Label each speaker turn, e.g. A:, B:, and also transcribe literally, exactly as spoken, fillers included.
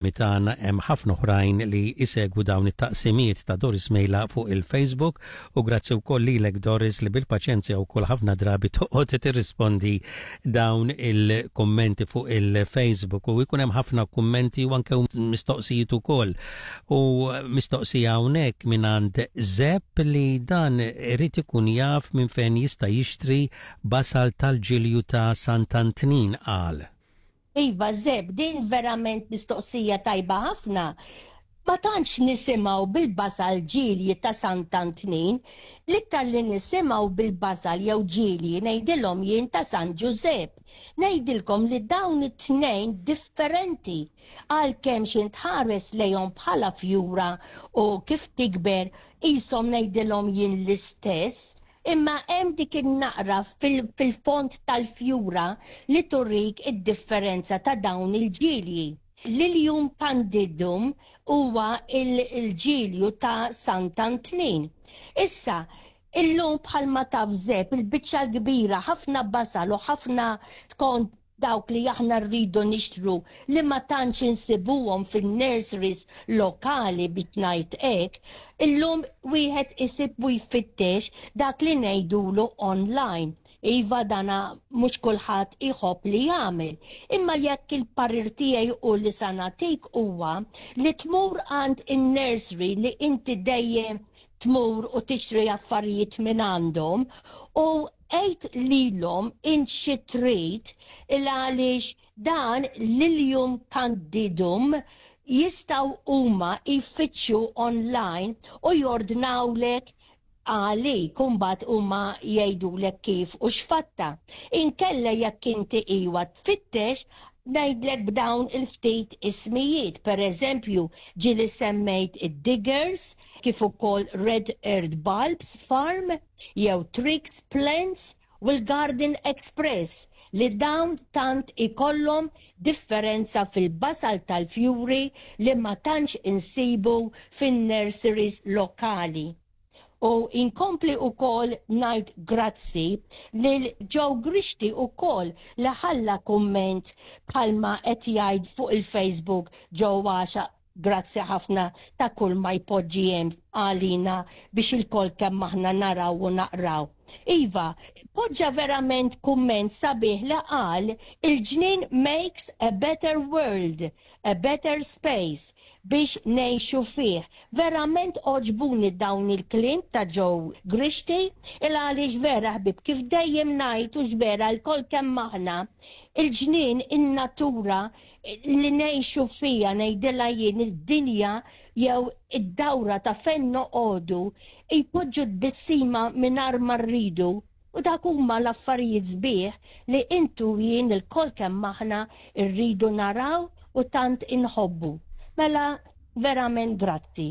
A: Mitan hemm ħafna oħrajn li isegwu dawn it-taqsimiet ta' Doris Mejla fuq il-Facebook u grazzi wkoll lilek, Doris, li bil-paċenzja wkoll ħafna drabi toqgħod tirrispondi dawn il-kummenti fuq il-Facebook u jkun hemm ħafna kummenti u anke mistoqsijiet ukoll. U mistoqsija hawnhekk mingħand Zepp li dan irid ikun jaf minn fejn jista' jixtri basal tal-ġilju ta' Sant'Antnin, qal.
B: Iva, Zeb, din verament mistoqsija tajba ħafna. Ma tantx nisimgħu bil-basal ġilji ta' Sant'Antnin, l-iktar li nisimgħu bil-basal jew ġilji, ngħidilhom jien, ta' San Ġużepp. Ngħidilkom li dawn it-tnejn differenti, għalkemm xi tħares lejhom bħala fjura u kif tikber qishom, ngħidilhom jien, l-istess, imma hemm dik in-naqra fil-fond tal-fjura li turik id-differenza ta' dawn il-ġilji. Lilium candidum huwa il-ġilju ta' Sant'Antnin. Issa, illum, bħalma taf, Zeb, il-biċċa kbira, ħafna basal u ħafna skont dawk li aħna rridu nixtru li ma tantx insibuhom fin-nurseries lokali, biex ngħid hekk, illum wieħed isib u jfittex dak li ngħidulu online. Iva, dana mhux kulħadd iħobb li jagħmel. Imma jekk il-parir tiegħi u li sa nagħtik huwa li tmur għand in-nursery li inti dejjem tmur u tixtri affarijiet minn għandhom u għid lilhom int xi trid, il għaliex dan Lilium candidum jistgħu huma jfittxu online u jordnawlek għalik, imbagħad huma jgħidulek kif u x'fatta. Inkella jekk inti iwa tfittex, ngħidlek b'dawn il-ftit ismijiet, per eżempju, ġieli semmejt id-Diggers, kif ukoll Red Earth Bulbs Farm, jew Tricks Plants u l-Garden Express, li dawn tant ikollhom differenza fil-basal tal-fjuri li ma tantx insibu fin-nurseries lokali. U inkompli ukoll ngħid grazzi lil Joe Grixti ukoll li ħalla komment, bħalma qed jgħid fuq il-Facebook Joe għaxa. Grazzi ħafna ta' kull ma jpoġġi hemm għalina biex ilkoll kemm aħna naraw u naqraw. Iva, poġġa verament kumment sabiħ li qal: "Il-ġnien makes a better world, a better space biex ngħixu fih." Verament għoġbuni dawn il-kliem ta' Joe Grixti, il għaliex vera, ħbib, kif dejjem ngħid u vera lkoll kemm aħna, il-ġnien, in-natura li ngħixu fija, ngħidilha jien id-dinja jew id-dawra ta' fejn noqogħdu, jpoġġu tbissima mingħajr ma rridu. U dak huma l-affarijiet sbieħ li intu jien ilkoll kemm aħna rridu naraw u tant inħobbu. Mela, verament grazzi.